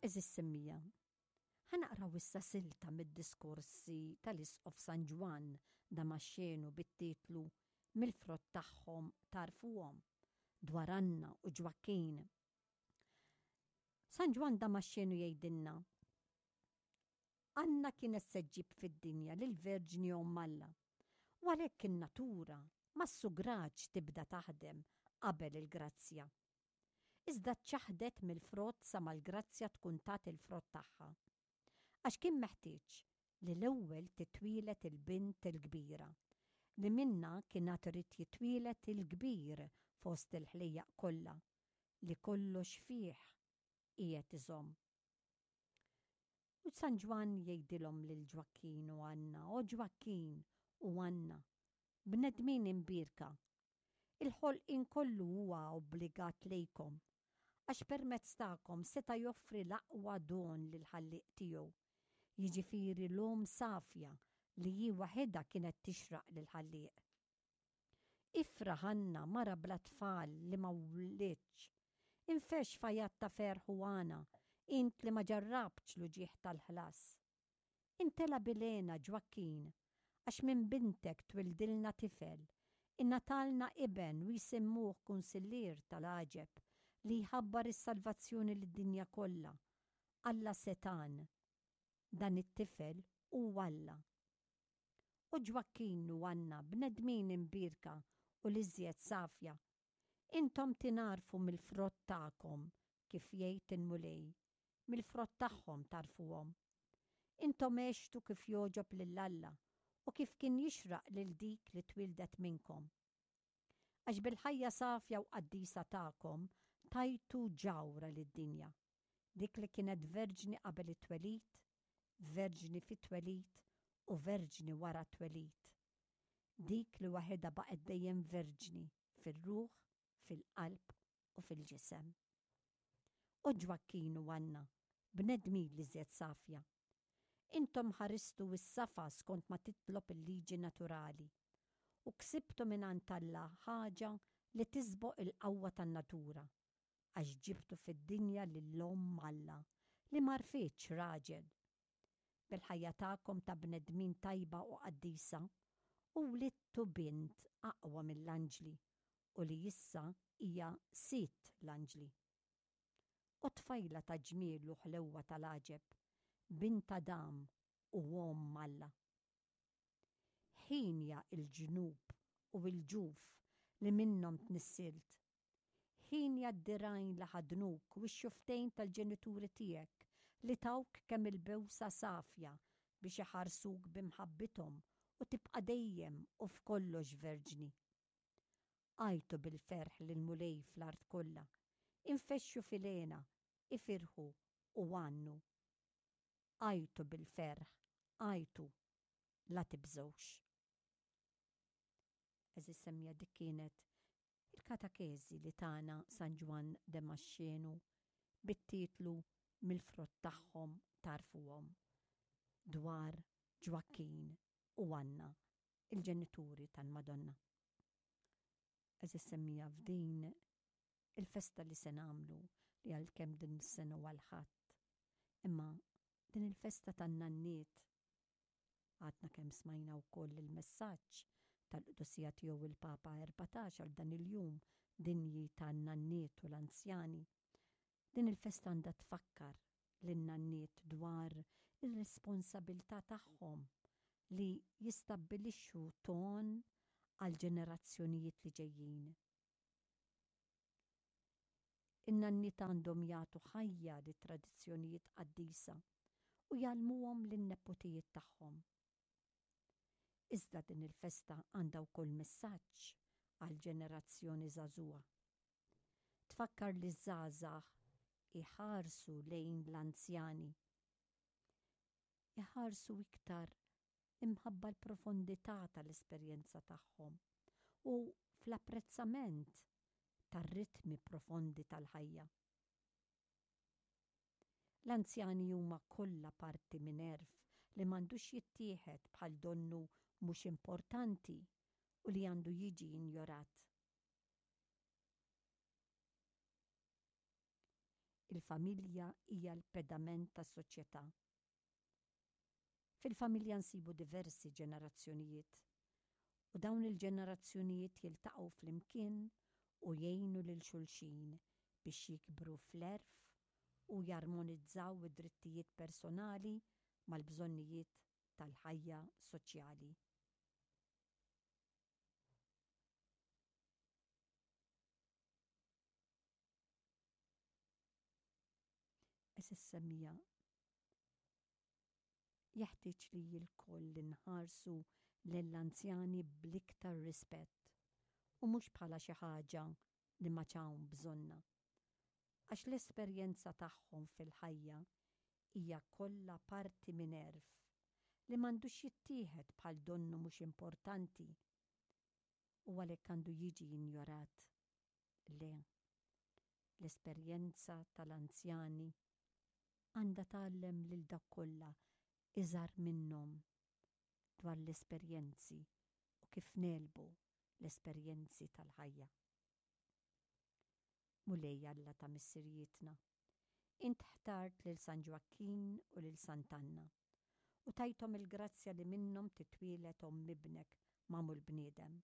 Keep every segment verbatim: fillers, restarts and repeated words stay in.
Għeżież semmiegħa, ħa naqraw issa silta mid-diskorsi tal-Isqof San Ġwann Damaxxenu bit-titlu Mill-frott tagħhom tagħrfuhom dwar Anna u Ġwakkin. San Ġwann Damaxxenu jgħidilna Anna kienet se ġġib fid-dinja lill-Verġni Omm Alla. U għalhekk in-natura ma ssugrax tibda taħdem qabel il-grazzja. Iżda ċċaħdet mill-frott sa mal-grazzja tkun tat il-frott tagħha. Għax kien meħtieġ li l-ewwel titwieled il-bint il-kbira, li minnha kien għad irid jitwieled il-kbir fost il-ħlejjaq kollha, li kollox fih qiegħed iżomm. U San Ġwann jgħidilhom lil Ġwakkin u Anna, O Ġwakkin u Anna, bnedmin imbierka, il-ħolqien kollu huwa obbligat lejkom, għax permezz tagħkom seta' joffri l-aqwa don lill-Ħallieq tiegħu, jiġifieri l-omm safja li hi waħedha kienet tixraq lill-Ħallieq. Ifraħ Anna, mara bla tfal li ma wlidtx, infexx f'għajat ta' ferħ u għana, int li ma ġarrabtx l-uġigħ tal-ħlas. Imtela bil-hena Ġwakkin, għax minn bintek twildilna tifel, ingħatalna iben u jsemmuh kunsillier tal-għaġeb li jħabbar is-salvazzjoni lid-dinja kollha, Alla setgħan. Dan it-tifel hu Alla. U Ġwakkin u Anna, bnedmin imbierka u l-iżjed safja, intom tingħarfu mill-frott tagħkom, kif jgħid il-Mulej, mill-frott tagħhom tagħrfuhom. Intom għextu kif jogħġob lil Alla u kif kien jixraq lil dik li twildet minnkom. Għax bil-ħajja safja u qaddisa tagħkom tajtu ġawhra lid-dinja, dik li kienet verġni qabel it-twelid, verġni fit-twelid u verġni wara t-twelid. Dik li waħedha baqgħet dejjem verġni fir-ruħ, fil-qalb u fil-ġisem. O Ġwakkin u Anna, bnedmin l-iżjed safja, intom ħaristu s-safa skont ma titlob il-liġi naturali u ksibtu mingħand Alla ħaġa li tisboq il-qawwa tan-natura, għax ġibtu fid-dinja lil Omm Alla li ma għarfitx raġel. Bil-ħajja tagħkom ta' bnedmin tajba u qaddisa, u wlidtu bint aqwa mill-anġli u li issa hija sidt l-anġli. O tfajla ta' ġmiel u ħlewwa tal-għaġeb, bint Adam u Omm Alla. Ħienja l-ġnub u l-ġuf li minnhom tnissilt. Ħienja d-dirgħajn li ħadnuk u x-xufftejn tal-ġenituri tiegħek li tawk kemm il-bewsa safja biex iħarsuk b'imħabbithom u tibqa' dejjem u f'kollox verġni. Għajtu bil-ferħ lill-Mulej fl-art kollha, infexxu fil-hena, ifirħu u għannu. Għajtu bil-ferħ, għajtu, la tibżgħux. Għeżież semmiegħa, dik kienet il-katekeżi li tana San Ġwann Demaxxenu bit-titlu Mill-frott tagħhom tagħrfuhom dwar Ġwakkin u Anna, il-ġenituri tal-Madonna. Għeżież semmiegħa, f'din il-festa li se nagħmlu li għalkemm din is-sena huwa l-Ħadd, imma din il-festa tan-nanniet għadna kemm smajna wkoll il-messaġġ tal-qdusija tiegħu il-Papa erbatax għal dan il-jum dinji tan-nanniet u l-anzjani. Din il-festa għandha tfakkar lin-nanniet dwar ir-responsabilità tagħhom li jistabbilixxu ton għal ġenerazzjonijiet li ġejjin. In-nanniet għandhom jagħtu ħajja lit-tradizzjonijiet qaddisa u jgħallmuhom lin-nepotijiet tagħhom. Iżda din il-festa għandha wkoll messaġġ għal ġenerazzjoni żagħżugħa. Tfakkar li żgħażagħ iħarsu lejn l-anzjani. Iħarsu iktar imħabba l-profondità tal-esperjenza tagħhom u fl-apprezzament tar-ritmi profondi tal-ħajja. L-anzjani huma kollha parti minn għerf li m'għandux jittieħed bħal donnu mhux importanti u li għandu jiġi injorat. Il-familja hija l-pedament tas-soċjetà. Fil-familja nsibu diversi ġenerazzjonijiet u dawn il-ġenerazzjonijiet jiltaqgħu flimkien u jgħinu lil xulxin biex jikbru fl-għerf u jarmonizzaw id-drittijiet personali mal-bżonnijiet tal-ħajja soċjali. Għeżież semmiegħa, jeħtieġ li lkoll inħarsu lill-anzjani bl-iktar rispett u mhux bħala xi ħaġa li m'għadx hawn bżonnha. Għax l-esperjenza tagħhom fil-ħajja hija kollha parti minn għerf li m'għandux jittieħed bħal donnu mhux importanti u għalhekk għandu jiġi injorat. Le, l-esperjenza tal-anzjani għandha tgħallem lil dawk kollha iżgħar minnhom dwar l-esperjenzi u kif negħlbu l-esperjenzi tal-ħajja. Mulej Alla ta' missirijietna, int ħtart lil San Ġwakkin u lil Sant'Anna u tajthom il-grazzja li minnhom titwieled omm ibnek magħmul bniedem.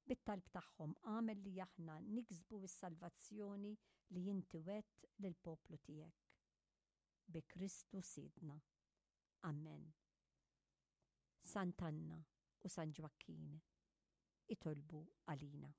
Bit-talb tagħhom agħmel li aħna niksbu s-salvazzjoni li inti wegħedt lill-poplu tiegħek. Bi Kristu Sidna. Amen. Sant'Anna u San Ġwakkin, itolbu għalina.